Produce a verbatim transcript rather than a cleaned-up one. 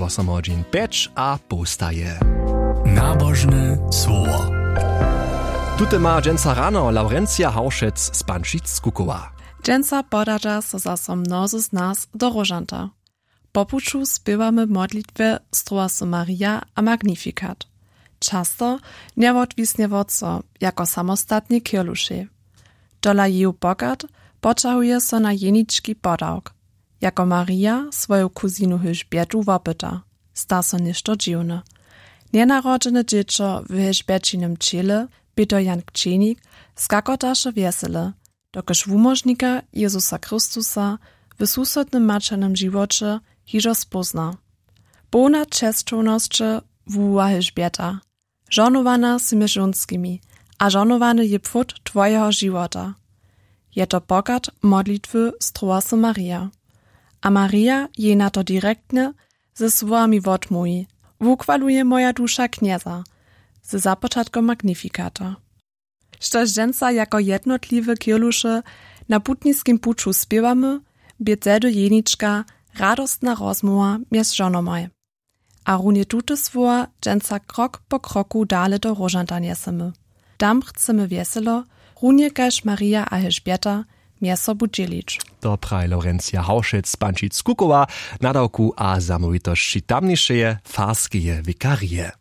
Wosomhodźin pjeć a połstaje. Nabožne słowo. Tute ma dźensa rano Laurencija Hawšec z Pančic skukowa. Dźensa podaća so zaso mnozy z nas do Róžanta. Po puću spěwamy w modlitwje Stroła so Maria a Magnifikat. Často njewotwisnje wot so jako samostatnej kirlušej. Tola jeju pochad poćahuje so na jenički podawk, jako Maria swoju kuzinu Hilžbětu wopyta, sta so něšto dźiwne. Njenarodźene dźěćo w Hilžběćinem ćěle, Pětr Jan Kćenik, skakotaše wjesele, dokelž wumóžnika Jezusa Chrystusa w susodnym maćernym žiwoće hižo spózna. Połna česćownosće wuwoła Hilžběta. Žohnowana sy mjez žónskimi a žohnowany je płód twojeho žiwota. Je to pochad modlitwy Stroła so Maria. A Maria jej na to direktnje ze słowami wotmołwi: „Wuchwaluje moja duša Knjeza“, ze započatkom Magnifikata. Štož dźensa jako jednotliwe kirluše na putniskim puću spěwamy, bě tehdy jenička radostna rozmołwa mjez žonomaj. A runje tute słowa dźensa krok po kroku dale do Róžanta njesemy. Tam chcemy wjeselo, runje kaž Maria a Hilžběta, mjez sobu dźělić. To praji Laurencija Hawšec z Pančic Kukowa, nadawku a zamołwitosći tamnišeje farskeje wikarije.